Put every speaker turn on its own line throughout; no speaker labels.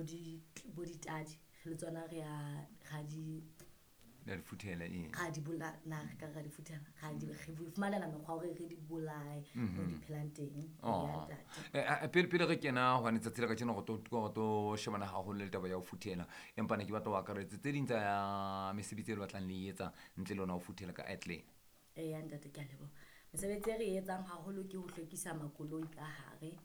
bo di bo ditadi le tsona re a ra di
la di futhela ee
ra di bola na re ka ra di futhela ra di re fumanela mekgwa hore re di bolaye mo di phelang teng.
Oh.
Ya ntate.
Pele re kena hobane tsatsi la kajeno go tlo shebana haholo le taba ya ho futhela, empa ne ke batla ho akaretse tse ding tsa mesebetsi e le batlang le e etsa ntle le ona ho futhela ka Airclean.
Eya ntate, ke a leboha. Mesebetsi e re e etsang haholo ke ho hlwekisa makoloi ka hare.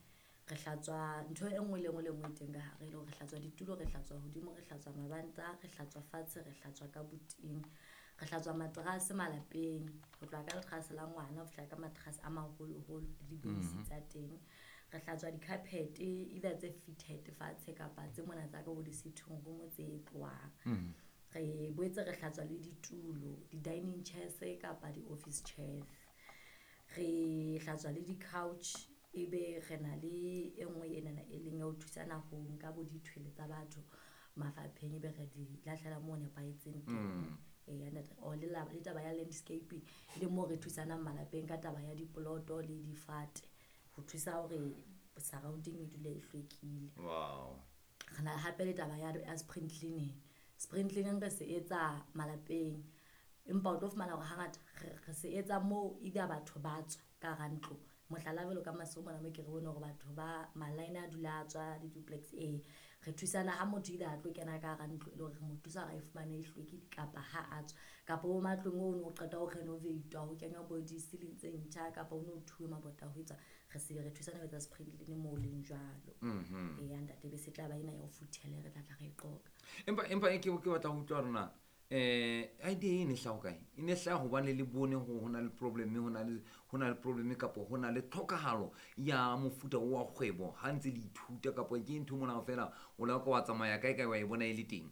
Re hlatswa ntho e nngwe le nngwe le nngwe e teng ka hare, e le hore re hlatswa ditulo, re hlatswa hodimo, re hlatswa mabanta, re hlatswa fatshe, re hlatswa ka buting, re hlatswa materase malapeng, ho tloha ka leterase la ngwana ho fihla ka materase a maholoholo le dibeisi tsa teng. Re hlatswa di-carpet, either tse fitted fatshe kapa tse mona tsa ka bo di-sitting room tse tlohang. Re boetse re hlatswa le ditulo, di-dining chairs kapa di-office chairs. Re hlatswa le di-couch, ebe re na le e nngwe enana e leng ya ho thusana ho nka bo dithwele tsa batho mafapheng, ebe re di lahlela moo nepahetseng teng. Eya ntate. Or le taba ya landscaping, e leng moo re thusanang malapeng ka taba ya dipoloto le difate ho thusa hore surrounding e dule e hlwekile. Re na hape le taba ya spring cleaning. Spring cleaning re se etsa malapeng, empa o tlo fumana hore hangata re se etsa moo either batho ba tswa ka hara ntlo. Mohlala, jwalo ka Maseru mona mo ke re bone hore batho ba ma-line a dula a tswa di-duplex. Ee, re thusana ha motho either a tlo kena ka hara ntlo, e le hore re mo thusa hore a e fumane e hlwekile, kapa ha a tswa, kapa bo matlong o no qeta ho renovate-wa, ho kenywa bo di-ceiling tse ntjha, kapa o no thuwe mabota ho etsa, re se re thusana ho etsa spring cleaning moo leng jwalo. Eya ntate, be se tla ba ena ya ho futhela re tla tla re e qoqa.
Empa ke batla ho utlwa rona idea e ne hlaha kae? E ne hlaha hobane le bone ho na le problem, ho na le problem kapa ho na le tlhokahalo ya mofuta o wa kgwebo ha ntse le ithuta, kapa ke ntho mona fela o la ka wa tsamaya kae kae wa e bona e le teng?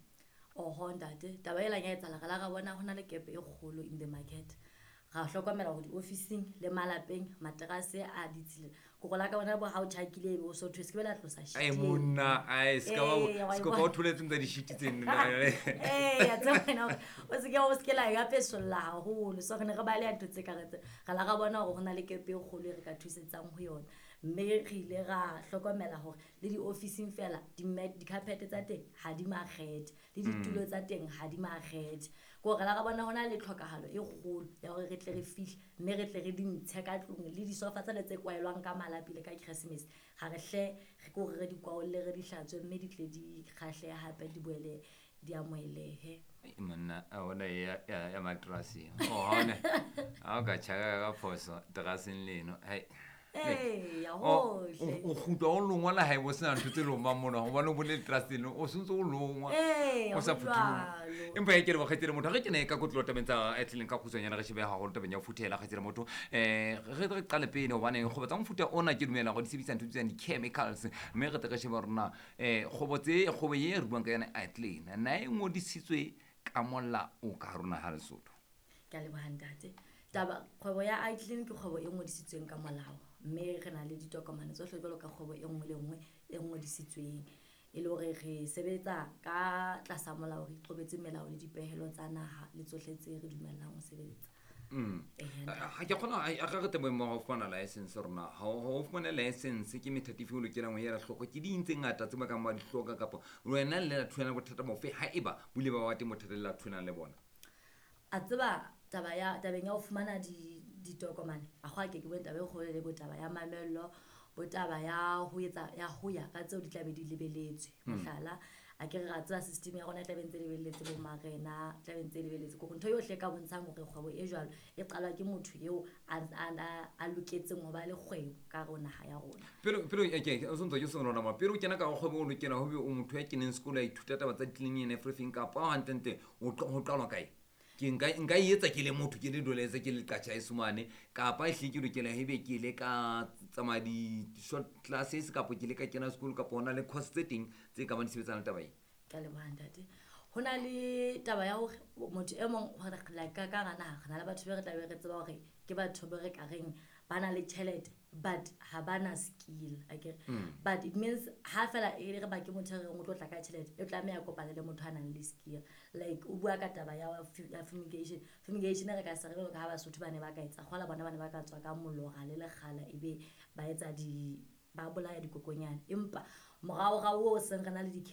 Oho ntate, taba e lang ya etsahala, re la ra bona ho na le gap e kgolo in the market. Ra hlokomela hore diofising le malapeng materase a ditshila, kore la ka bona bo ha o tjhakile, ebe o so thwe se ke be la tlosa
Ai
sheet eo.
Monna, ai ska ba
Ee, wa e
ska ba
bona.
o tholetseng tsa di-sheet tseno.
Ee, a tseba wena hore o se ke la e apesolla haholo. So re ne re baleha ntho tse ka re tse re la ra bona hore ho na le gap e kgolo e re ka thusetsang ho yona, mme re ile ra hlokomela hore le di-ofising fela di-carpet tsa teng ha di makgethe, le ditulo tsa teng ha di makgethe. Ke hore la ra bona ho na le tlhokahalo e kgolo ya hore re tle re fihle, mme re tle re di ntshe ka tlung, le disofa tsale tse kwaelwang ka malapi le ka Christmas, ga re hle re ke hore re di kwaolle, re di hlatswe, mme di tle di kgahlehe hape, di boele di amohelehe.
Ai, monna, a bona ya materase o ha ona ha o ka tjhaka ka phoso teraseng leno, hai.
Eya.
O
Hohle.
O kgutla o longwa le haebo sena ntho tse lomang mona, hobane o bone leteraseng leno o sentse o longwa
Ee,
o sa
ho
phuthuloha.
jwalo.
Empa e ke leboha, kgaitsedi motho. Re kene ka kotlo tabeng tsa Airclean ka kgutshwanyane, re shebe haholo tabeng ya ho futhela, kgaitsedi motho. Re qale pele hobane kgwebo tsa mofuta ona ke dumela hore di sebedisa ntho tse bitswang di-chemicals, mme re tle re shebe hore na kgwebo tse kgwebo e re buang ka yona, Airclean, na e ngodisitswe ka molao ka hare ho naha Lesotho?
Ke a leboha ntate. Taba kgwebo ya iClean ke kgwebo e ngodisitsweng ka molao, mme re na le ditokomane tsohle jwalo ka kgwebo e nngwe le nngwe e ngodisitsweng, e le hore re sebetsa ka tlasa molao, re iqobetse melao le dipehelo tsa naha le tsohle tse re dumellang ho sebetsa. Eya, ntate.
Ha ke kgona a re re teng boemong ba ho fumana license rona ha o fumane license, ke methati efe o lokelang ho ela hloko? Ke ding tse ngata tse ba kang ba di hloka, kapa wena le la thulana le bothata bofe, ha eba bo ile ba ba teng bothata le la thulanang le bona?
A tseba taba ya tabeng ya ho fumana di ditokomane, a kgwa ke bone taba e kgolo le bo taba ya mamello, bo taba ya ho etsa ya ho ya ka tseo di tlabe di lebeletswe. Mohlala, a ke re ra tseba system ya rona e tlabe ntse e lebelletse bo marena, tlabe ntse e lebelletse ke hore ntho yohle e ka bontshang hore kgwebo e jwalo e qalwa ke motho eo a loketseng ho ba le kgwebo ka hare ho naha ya rona.
Pele ke o sontso ke sona ma pele o kena ka kgwebo, o lokela ho be o motho ya keneng sekolo, a ithuta taba tsa cleaning and everything, kapa hantlentle ho qalwa kae? Ke nka e etsa ke le motho, ke le doletse, ke le qatjha esomane, kapa ehlile ke lokela ebe ke ile ka tsamaya di-short classes, kapa ke ile ka kena sekolo, kapa hona le course tse teng tse ka bang di sebetsana le taba e?
Ke a leboha ntate. Ho na le taba ya hore motho e mong hore like ka hara naha re na le batho be re tlabe re tseba hore ke batho be re ka reng ba na le tjhelete, but ha ba na skill, akere? But it means ha fela e re ba ke motho e reng o tlo tla ka tjhelete, e tlameha kopane le motho a nang le skill. Like o bua ka taba ya fumigation. Fumigation re ka se re jwalo ka ha Basotho ba ne ba ka etsa kgola, bona ba ne ba ka tswa ka molora le lekgala, ebe ba etsa di ba bolaya dikokonyana, empa moraorao o seng re na le di.